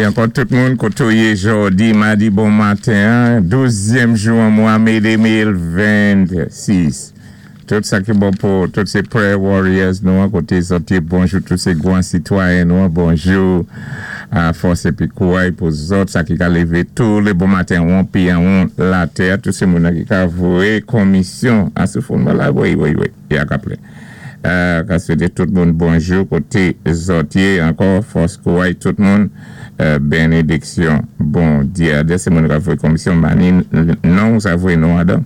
Sali ankò tout moun koté ou yé jòdi madi bon maten, 12èm jou an mwa mé 2026. Tout sa ki bon pou tout sé prayer warriors nou an koté zòt yé, bonjou. Tout sé gwan sitwayen nou an, bonjou. Fòs épi kouray pou zòt sa ki ka lévé tou lé bon maten wonpi an won latè. Tout sé moun ki ka voyé komisyon a sou fon la, wi, ya ka plé. Ka swété tout moun bonjou koté zòt yé ankò, fòs, kouray tout moun, bénédiksyon Bondyé. Adè sé moun ka voyé komisyon mani non sa voyé non adan.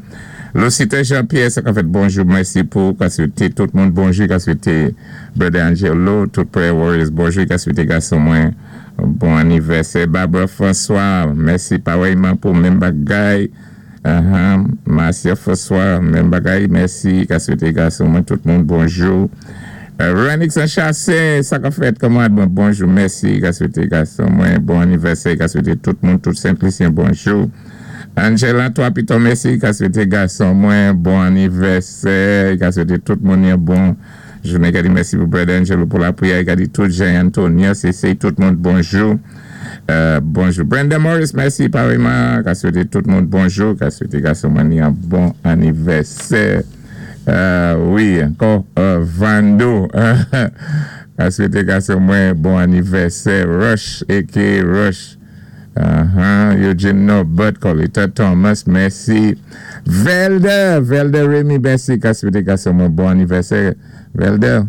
Lucita Jean-Pierre, sa ka fèt, bonjou, mèsi pou ka swété tout moun bonjou, ka swété Brother Angelo, tout prayer warriors bonjou, ka swété gason mwen bon anivèsè. Barbara François, mèsi parèyman pou menm bagay. Marcia François, menm bagay, mèsi, ka swété gason mwen, tout moun bonjou. Renix Chassé, sa ka fèt, kanmarad mwen, bonjou, mèsi, ka swété gason mwen bon anivèsè, ka swété tout moun, tout Saint-Lucien, bonjou. Angela, toi, piton, mèsi, ka swété gason mwen bon anivèsè, ka swété tout moun yon bon jounen, ka di mèsi pou Brother Angelo pou lapwiyè, ka di tout Jean Antonio, c'est tout moun bonjou. Bonjou. Brenda Morris, mèsi parèyman, ka swété tout moun bonjou, ka swété gason mwen yon bon anivèsè. Wi, ankò Vando. Ka swété gason mwen bon anivèsè. Rush, aka Rush. Eugene Norbert, Colita Thomas, mèsi. Velder, Velder Remy, mèsi. Ka swété gason mwen bon anivèsè. Velder,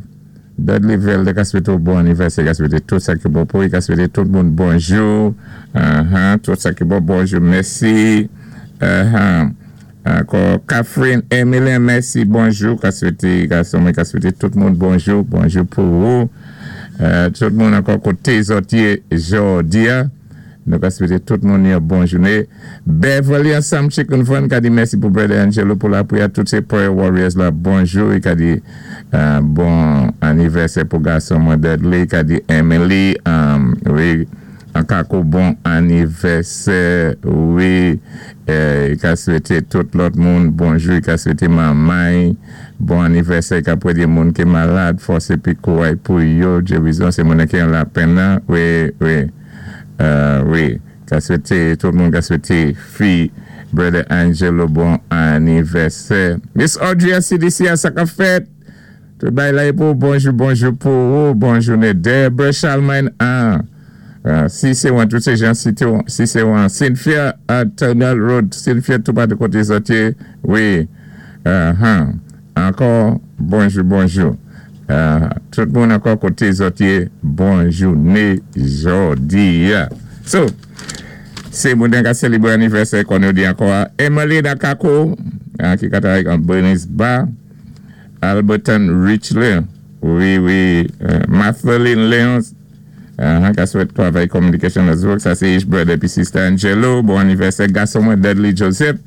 Dudley Velder, ka swété bon anivèsè, ka swété tout sa ki bon pou, ka swété tout moun bonjou. Tout sa ki bon, bonjou, mèsi. Ankò, Catherine Emilien, mèsi, bonjou. Ka swété gason mwen, ka swété tout moun bonjou, bonjou pou ou. Tout moun ankò koté zòt yé jòdi a. Nou ka swété tout moun yon bon jounen. Beverly ansanm Chicken Fun ka di mèsi pou Brother Angelo pou lapwiyè, tout sé prayer warriors la bonjou. I ka di bon anivèsè pou gason mwen Dudley, ka di Emily, wi, ankako bon anivèsè, wi, i ka swété tout lòt moun bonjou, i ka swété manmay bon anivèsè, ka pwédyé moun ki malad, fòs épi kouray pou yo, Djewizon sé moun ki an lapenn nan, wi. Ka swété tout moun, ka swété fi Brother Angelo bon anivèsè. Miss Audrey CDC a, sa ka fèt. Tout bay la pou bonjou, bonjou pou ou, bon jounen. Deborah Charlemagne 1. Si sé wan, tout sé jan si sé wan. Cynthia Tunnel Road, Cynthia tout pa de koté zòt yé, wi. Ankò, bonjou, bonjou. Tout moun ankò koté zòt yé, bon jounen jòdi. So, sé moun ka sélébré anivèsè kon nou di ankò. Emily Nakako, ki ka travay an Bernice Bar. Alberton Richley, wi, Mathelin Léon, ka swèt travay communication as work, sa sé Ish brother pi sister Angelo, bon anivèsè gason mwen Dudley Joseph,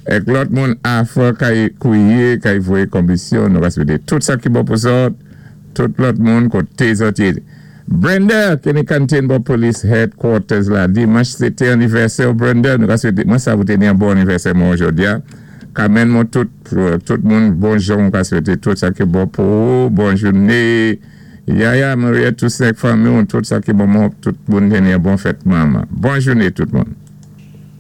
èk lòt moun afè kay kouye, kay voyé komisyon, nou ka swété tout sa ki bon pou zòt, tout lòt moun koté zòt yé. Brenda, Kenny Canteen bon Police Headquarters la, dimanch sé té anivèsè Brenda, nou ka swété, mwen sa ou té ni yon bon anivèsè mwen jòdi a, Carmen mwen tout, tout moun bonjou, mwen ka swété tout sa ki bon pou ou, bon jounen. Yaya, Maria, tout fanmi, tout sa ki bon, tout moun ni yon bon fèt manman. Bon jounen tout moun.